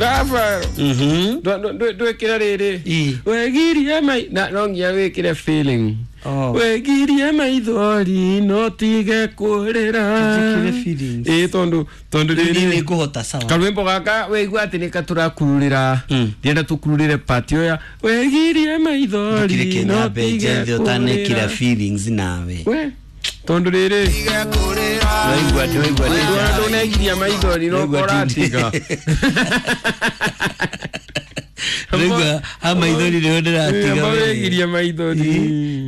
Rafael. Ndwikire riri. Wegirie mai na no nginya wikire feeling. Wegirie maithori no tige kurira. Njikire feelings. Tondu tondu riri ni nguhota sawa. Karwimbo gaka weigua ati ni katurakururira. Ndienda tukururire patio ya wegirie maithori no tige kurira. Feelings nawe. We tondu riri. Waigua waigua ndonegiria maithori no koratiga. Waigua ha maithori rĩo ndĩratiga. Wegirie maithori.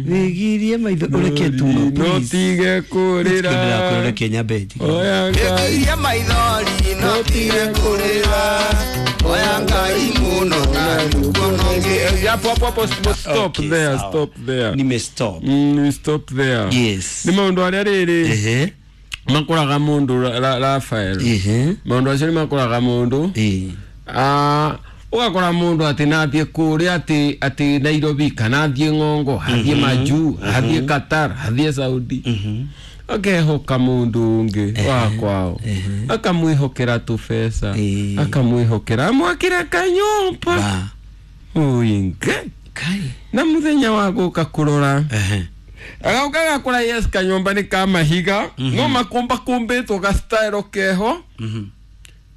Wegirie maithori ureke tuma no tige kurira. Ndĩrakwĩra Kenya beji. Oya Ngai. Wegirie maithori no tige kurira. Oya Ngai muno na ndukononge. Hapo hapo stop there, stop there. Nime stop. Stop there. Yes. Ni maundu aria riri. Makoraga mundu Rafael. Maundu acio ni makoraga mundu. Ugakora mundu ati nathie kuria ati ati Nairobi kana athie Ng'ongo, athie Majuu, athie Qatar, athie Saudi. Akehoka mundu ungi wa kwao. Akamwihokera tubesa, akamwihokera amwakira kanyumba. Uinge. Kai. Na muthenya wa guka kurora. Agauka gakora yes kanyumba ni ka mahiga, no makumba kumbitwo ga style keho.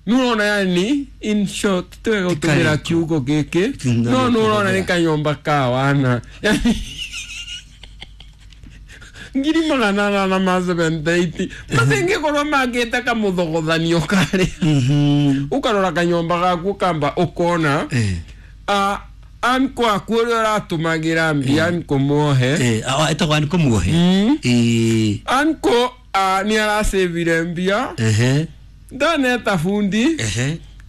Nurona yani in short twega gutumira kiugo giki no nurona ni kanyumba ka wana yani 880 masingikorwo mangite kamuthogothanio kari ukarora kanyumba gaku kamba ukona anko aku uria uratumagira mbia anko muohe etagwo anko muohe anko ni aracĩvire mbia ndaneta fundi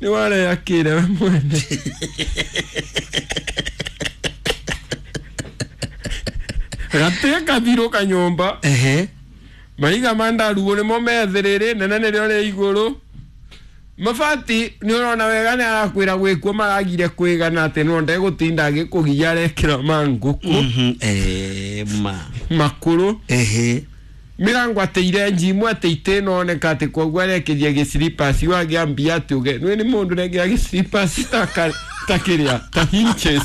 ni wareakire we mwene gate kathiro kanyumba mahiga ma ndaruo nimo methiriri nene nirio ri iguru mabati ni urona wega ni arakwira gwikuo maragire kwigana ati no ndegutinda agikugia arekira ma nguku makuru mirango ateire njimu ate itinoneka ati koguo arekirie gicilipas wagiambia ati uge nwe ni mundu regira gicilipas ta kiria ta hinges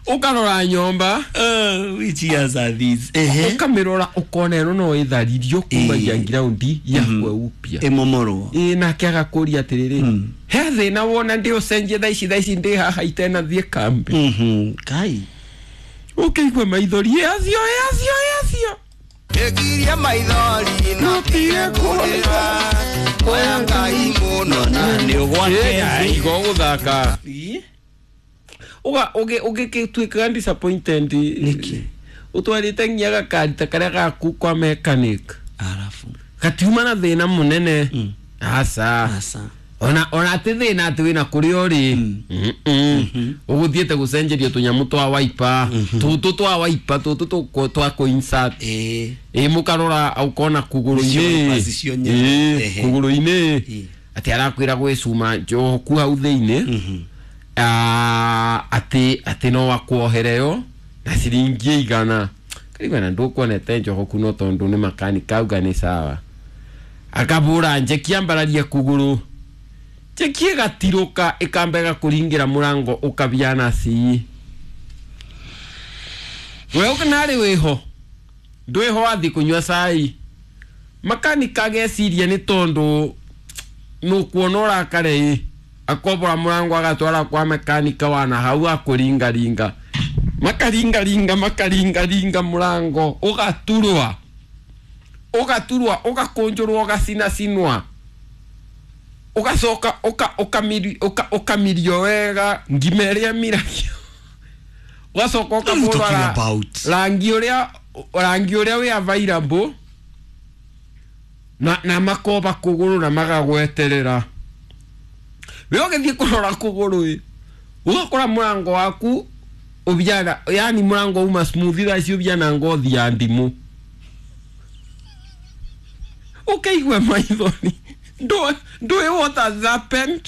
ukarora nyomba which years are these ukamirora ukona ino no itharirio kumagia ground yakwe upya imomorwo nake agakuria atiriri he thina wona ndi ucenjie thaa ici ndi haha itena thie kambi kai ukeigua maithori acio acio acio Egirie maithori no tige kurira. Oya Ngai muno na ni ugwate igo guthaka uga uge ugituika disappointed niki utwarite nginya gakari ta karia gaku kwa mechanic arafu gatiuma na thina munene asa asa ona ati thina ati wina kuria uri uguthiete gucenjeria tunyamu twa wiper tutu twa wiper tutu twa ku-insert mukarora ukona kuguru-ini kuguru-ini ati arakwira gwi cuma njoku hau thiini ati ati no akuohereo na ciringi 100 karigwa na ndukuonete njogoku no tondu ni makanika auga ni sawa akabura njeki ambararie kuguru njeki igatiruka ikambega kuringira murango ukabiana ci we ukanari wiho ndwiho wathi kunyua cai makanika ageciria ni tondu nukuona urakare akobora murango agatwara kwa mekanika wana hau akuringaringa makaringaringa makaringaringa murango ugaturwa ugaturwa ugakunjurwa ugacinacinwa ugacoka ukamirio wega ngima ĩrĩa miragio ugacoka ũkabũrwa rangi ũrĩa wĩ available na makoba kũgũrũ na magagweterera we ũgĩthiĩ kũrora kũgũrũ ĩ ũgakora mũrango waku ũbiana yani mũrango uma smooth thaa ici ũbiana ngothi ya ndimũ ũkaigua maithori ndũĩ what has happened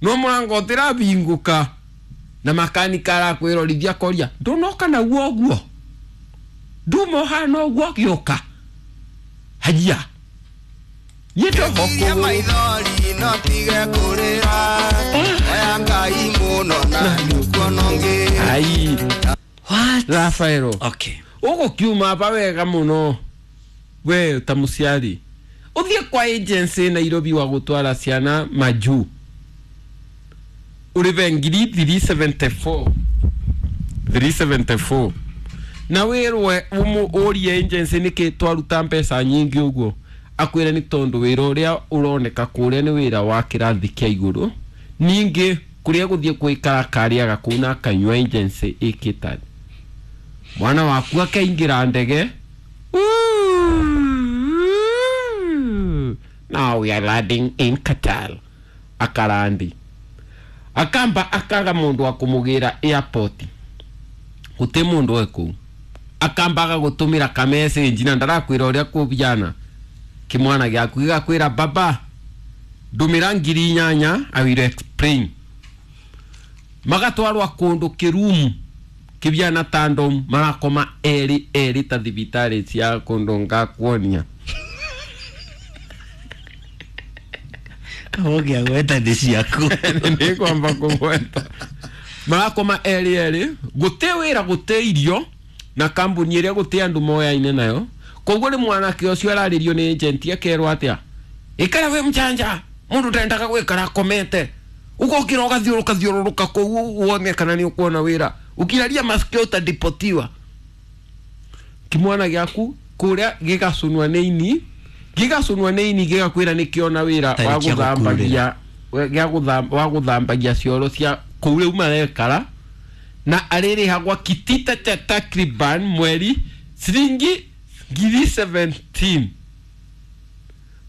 no mũrango ũtĩrabingũka na makanika arakwĩrorithia koria ndũnoka naguo ũguo nduma ũhana ũguo ũgĩũka hajia Ngegiria maithori no tige kũrĩra. Oya Ngai mũno na nĩũkuona ũngĩ. Ai. What? Rafaelo. Okay. Ũgũkiuma ba wega mũno we ta mũciari ũthiĩ kwa agency Nairobi wa gũtwara ciana majuu ũrĩbe ngiri 374 374 na wĩrwe ũrie agency nĩkĩ twaruta mbeca nyingĩ ũguo akwĩre nĩ tondũ wĩra ũrĩa ũroneka kũrĩa nĩ wĩra wa kĩrathi kĩa igũrũ ningĩ kũrĩa gũthiĩ gwĩkara karĩaga kũu na akanyua agency ĩkĩte mwana waku akaingĩra ndege. Ooh. Now we are landing in Qatar. Akarandi akamba akaga mundu wa kumugira airport gute mundu we kuu akamba agagutumira ka message na ndarakwira uria kubiana kimwana gyaku gigakwira baba ndumira 8,000 I will explain magatwarwa kundu kirumu kibiana tandom marakoma eri eri ta thibitari cia kundu ngakuonia Kawogia gweta ndĩ ciaku. Nĩngwamba kũgweta marakoma eri eri gũtĩ wĩra gũtĩ irio na kambuni ĩrĩa gũtĩ andũ moyaine nayo koguo nĩ mwanake ũcio ararĩrio nĩ agent akerwo atĩa ikara wĩ mchanja mũndũ ndendaga gwĩkara akomete ũgokĩra ũgathiũrũka thiũrũrũka kũu wone kana nĩ ũkuona wĩra ũkiraria masikio ũtadipotiwa kimwana gĩaku kũrĩa gĩgacunwa nĩ ini gĩgacunwa nĩ ini gĩgakwĩra nĩkĩona wĩra wa Tarĩ kĩa gũthambagia wa gũthambagia cioro cia kũu rĩu marekara na arĩrĩhagwa kitita cha takriban mweri ciringi 17,000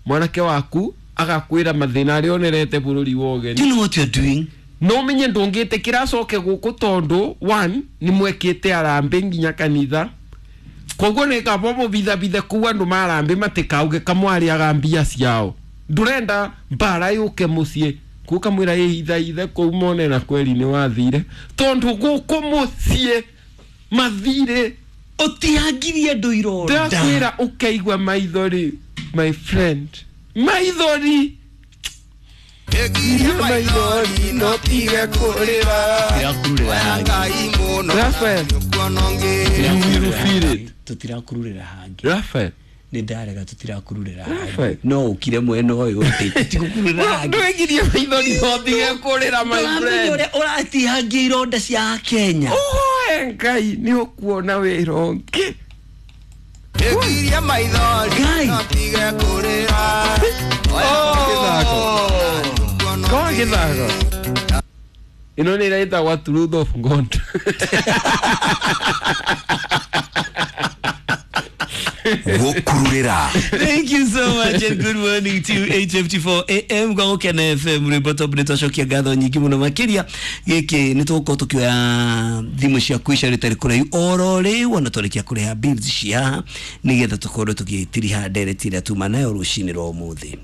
mwanake waku agakwĩra mathĩna arĩa onerete bũrũri wa ũgeni. Do you know what you're doing? No menye ndũngĩtĩkĩra acoke gũkũ tondũ one nĩ mwekĩte arambĩ nginya kanitha koguo nĩ kaba mũbithabithe kũu andũ marambĩ matikauge kamwarĩaga mbia ciao ndũrenda mbara yũke mũciĩ kũu kamwĩra ĩhithaithe kũu mone na kweri nĩ wathire tondũ gũkũ mũciĩ mathirĩ Ũtihangirie andũ ironda. ndakwĩra ũkaigua maithori my friend maithori Ngegiria maithori no tige kũrĩra. Tũtirakururĩra Oya hangĩ. Ngai mũno na Raphael. nĩũkuona ũngĩ. You will feel it. Tũtirakururĩra hangĩ. Raphael. Nĩ ndarega tũtirakururĩra hangĩ. Raphael. No ũkire mwena ũyũ ũtĩ tũtigũkururĩra hangĩ. Ndwegirie maithori no tige kũrĩra my Ndũramenya friend. ũrĩa ũratihangia ironda cia Kenya. Oe Ngai nĩ ũkuona wĩra ũngĩ. Ngegiria maithori Ngai. no tige kũrĩra. Oya Ngai mũno na nĩũkuona Kwa ũngĩ. gĩthako. Ĩno nĩ ĩrĩa ĩtagwo Truth of God. Gũkururĩra. Thank you so much and good morning to 8:54 AM kwa Gũkena FM rwĩmbo top nĩ twacokia ngatho nyingĩ mũno makĩria gĩkĩ nĩ tũgũkorwo tũkĩoya thimũ ciaku ica rĩtarĩ kũraihu oro rĩu ona twarĩkia kũrĩha bills cia haha nĩgetha tũkorwo tũgĩtiriha ndereti ĩrĩa tuma nayo rũcinĩ rwa ũmũthĩ.